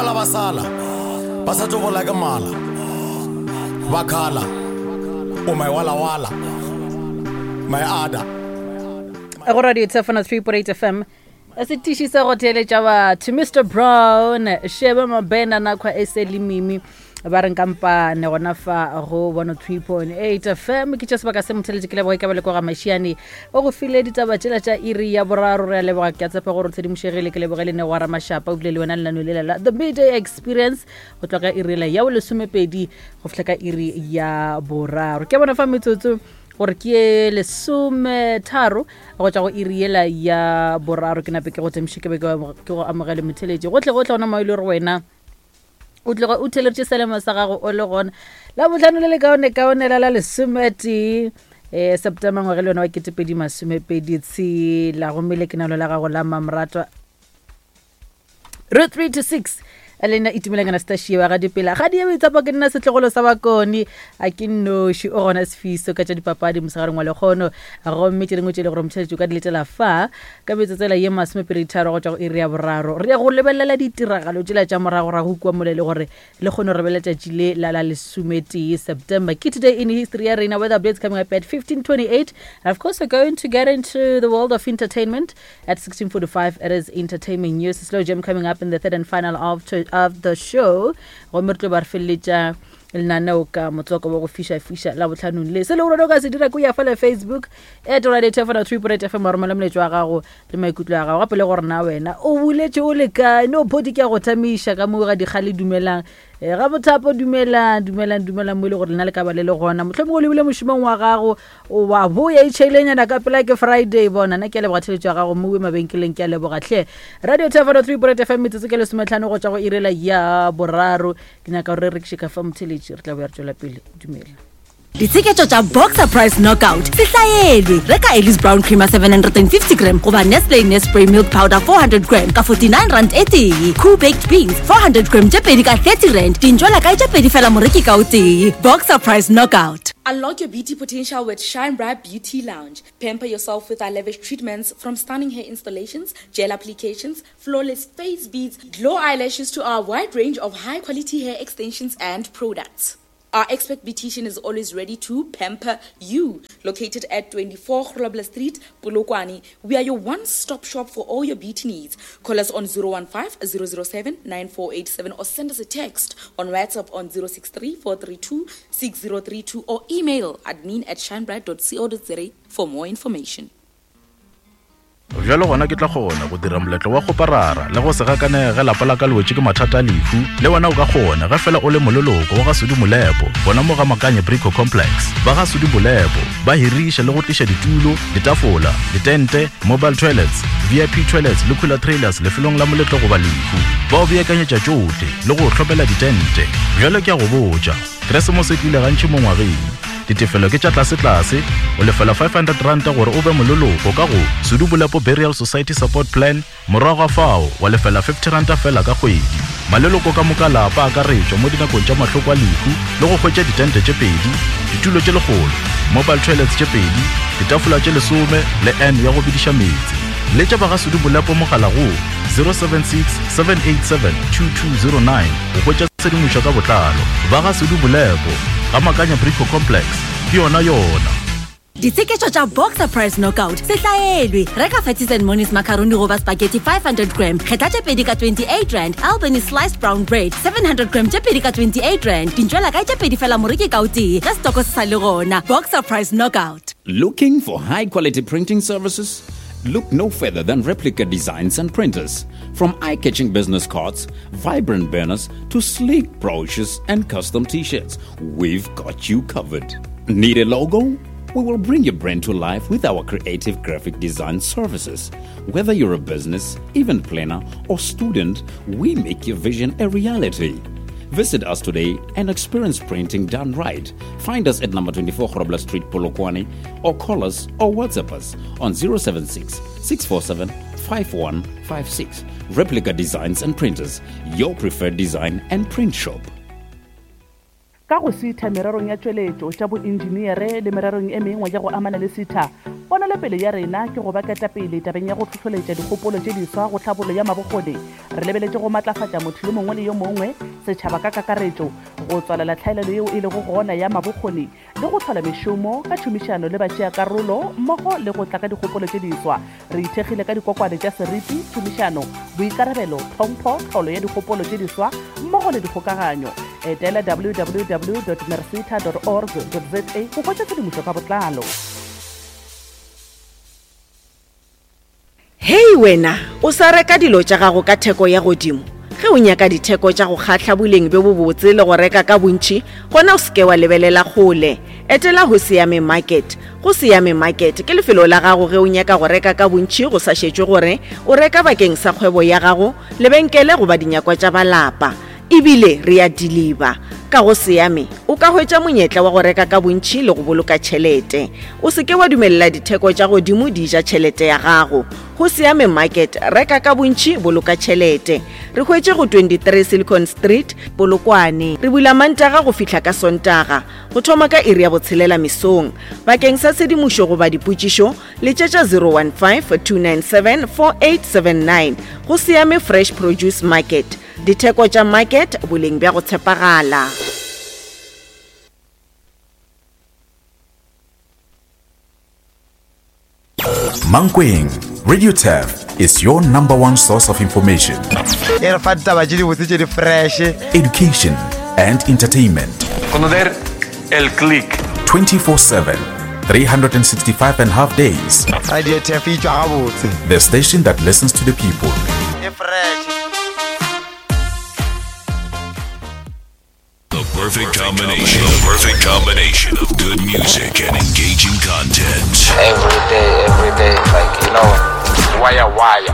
Bala ba sala ba sa tlo bola ke mala ba khala o my wala wala my ada go radio tshefana 3.8 fm setiši sa go theeletša batho mr brown shebe mabena nakhwa e se le mimi ba reng kampane gona fa go 103.8 fm ke tša sebaka se motheletše ke leboga e ka ba le kwa ga mašiane o go file ditaba tšela tša iri ya boraro re a leboga ke a tshepa gore o tshedimošegile ke leboge le ne wa ramašapa o bile le wena lenano lela la the midday experience go tloga ka iri la ya bolesomepedi go fihla ka iri ya boraro ke bona fa metsotso gore ke ye lesometharo go tšwa go iri yela ya boraro ke nape ke go temiše ke be ke go amogele motheletši gotlhe gotlhe gona mo e le gore wena o tloga o theletše selemo sa gago o le gona la botlhano le le kaone kaone la la lesometee um september ngwage le yona wa ketepedi masomepedi tshela gomme le kenalo la gago la mamratwa re 3 to 6 le nna itumeleng anastasia wa ga dipela ga di boitsapo ke nna setlogolo sa bakone a ke nnoši o gona sefiso ka tša dipapadi mosegareng wa lekgono gomme tše dingwe tše le gore motšheletši o ka di letela fa Ka metsotsela ye masomepeditharo go tšwa go iri ya boraro, re ya go lebelela ditiragalo tšela tša moragorago kua mola e le gore le kgone go re letšatši le la la lesometee September. Ke Today in History ya rena, weather updates coming up at 15:28. And of course, we're going to get into the world of entertainment at 16:45. It is entertainment news. Slow jam coming up in the third and final of, to, of the show. Gomme re tlo ba re feleletša lenaneo ka motswako wa go fiša-fiša la botlhanong le se le gore o ka se dira ko ya fela facebook at radio tefona 3.8 fm wa romela moletšo wa gago le maikutlo a gago gape le gore na wena o buletše o le kae no phodi ke ya go thamiša ka moo ga dikgale dumelang e, ga bothapo dumelang dumelang dumelang mo e le gore lena le ka ba le le gona mohlomongwe o lebile mošomong wa gago o wa boya itšhailenyana ka pela ke friday bona nna ke a leboga theletšo ya gago mowe mabenkeleng ke a leboga tlhe radio tefona 3.8 fm metsotso ke lesometlhano go tšwa go irela ya boraro ke nyaka gore re rekiše ka fa motheletši re tla boya re tšwela pele dumela Ditsheketšo tša Boxer Price Knockout se hlaelwe. Reka Ellis Brown Creamer 750 gram goba Nestle Nespray Milk Powder 400 gram ka 49 rand e tee. Cool Baked Beans 400 gram tše pedi ka 30 rand. Dintšwela kae tše pedi fela moreki ka o tee. Boxer Price Knockout. Unlock your beauty potential with Shine Bright Beauty Lounge. Pamper yourself with our lavish treatments from stunning hair installations, gel applications, flawless face beads, glow eyelashes to our wide range of high quality hair extensions and products. Our expert beautician is always ready to pamper you. Located at 24 Grobler Street, Polokwane, we are your one-stop shop for all your beauty needs. Call us on 015 007 9487 or send us a text on WhatsApp on 063 432 6032 or email admin at shinebright.co.za for more information. Bjalo gona ke tla kgona go dira moletlo wa kgoparara le go se gakanege ge lapa la ka le wetše ke mathata a lehu. Le wena o ka kgona ge fela o le moleloko wa ga Sudi Molepo gona mo ga Makanye Brico Complex. Ba ga Sudi Molepo ba hiriša le go tliša ditulo, ditafola, ditente, mobile toilets, VIP toilets le cooler trailers lefelong la moletlo goba lehu. Ba o beakanyetša tšohle le go o hlopela ditente. Bjalo ke a go botša, Keresemose e tlile gantši mo ngwageng. Ditefelo ke tša tlasetlase, o lefela R500 gore o be moleloko ka go Sudu Bolepo Burial Society Support Plan, morago ga fao wa lefela R50 fela ka kgwedi. Maleloko ka moka a lapa a akaretšwa mo dinakong tša mahloko a lehu le go hwetša ditente tše pedi, ditulo tše lekgolo, mobile toilets tše pedi, ditafola tše lesome le urn ya go bediša meetse. Letša ba ga Sudu Bolepo mogala go 076 787 2209 go hwetša tshedimošo ka botlalo. Ba ga Sudu Bolepo, ga Makanya Brico Complex, ke yona yona. Ditsheketšo tša Boxer Price Knockout se hlaelwe. Reka Fatties and Monies macaroni goba spaghetti 500 gram, kgetha tše pedi ka 28 rand, Albany sliced brown bread 700 gram tše pedi ka 28 rand, dintšwela kae tše pedi fela moreki ka o tee ge setoko se sa le gona. Boxer Price Knockout. Looking for high quality printing services? Look no further than Replica Designs and Printers. From eye catching business cards, vibrant banners, to sleek brochures and custom t shirts, we've got you covered. Need a logo? We will bring your brand to life with our creative graphic design services. Whether you're a business, event planner, or student, we make your vision a reality. Visit us today and experience printing done right. Find us at number 24 Grobler Street, Polokwane, or call us or WhatsApp us on 076 647 5156. Replica Designs and Printers, your preferred design and print shop. Ka go SETA mererong ya tšweletšo, tša boentšeneere le mererong e mengwe ya go amana le SETA, ponelopele ya rena ke go ba ketapele tabeng ya go hlohloletša dikgopolo tše diswa go tlhabollo ya mabokgoni. Re lebeletše go matlafatša motho yo mongwe le yo mongwe, setšhaba ka kakaretšo, go tswalela tlhaelelo yeo e lego gona ya mabokgoni le go hlola mešomo ka tšhomišano le batšeakarolo mmogo le go tla ka dikgopolo tše diswa. Re ithekgile ka dikokwane tša seriti, tšhomišano, boikarabelo, tlhompho, tlholo ya dikgopolo tše diswa mmogo le dikgokaganyo. Etela www dot merseta dot org dot za go hwetša tshedimošo ka botlalo. Hei wena, o sa reka dilo tša gago ka theko ya godimo? Ge o nyaka ditheko tša go kgahla, boleng bjo bobotse le go reka ka bontši, gona o se ke wa lebelela kgole. Etela Hosiame Market. Gosiame Market ke lefelo la gago ge o nyaka go reka ka bontši go sa šetšwe gore o reka bakeng sa kgwebo ya gago, lebenkele goba dinyakwa tša ba lapa. E bile re a diliba. Ka go Siame, o ka hwetša monyetla wa go reka ka bontši le go boloka tšhelete. O se ke wa dumelela ditheko tša godimo di ja tšhelete ya gago. Go Siame Market, reka ka bontši, boloka tšhelete. Re hwetše go 23 Silicon Street, Polokwane. Re bula Mantaga go fihla ka Sontaga, go thoma ka iri ya botshelela mesong. Bakeng sa tshedimošo goba dipotšišo, letšetša 015 297 4879. Go Siame Fresh Produce Market. Ditheko tša market, boleng bja go tshepagala. Mankweng, Radio Turf is your number one source of information. E re fa ditaba tše dibotse tše di fresh. Education and entertainment. Conocer el click. 24/7, 365 and half days. Radio Turf e tšwa gabotse. The station that listens to the people. E fresh. The perfect combination. The perfect combination of good music and engaging content. Every day, every day, like, you know, wire, wire.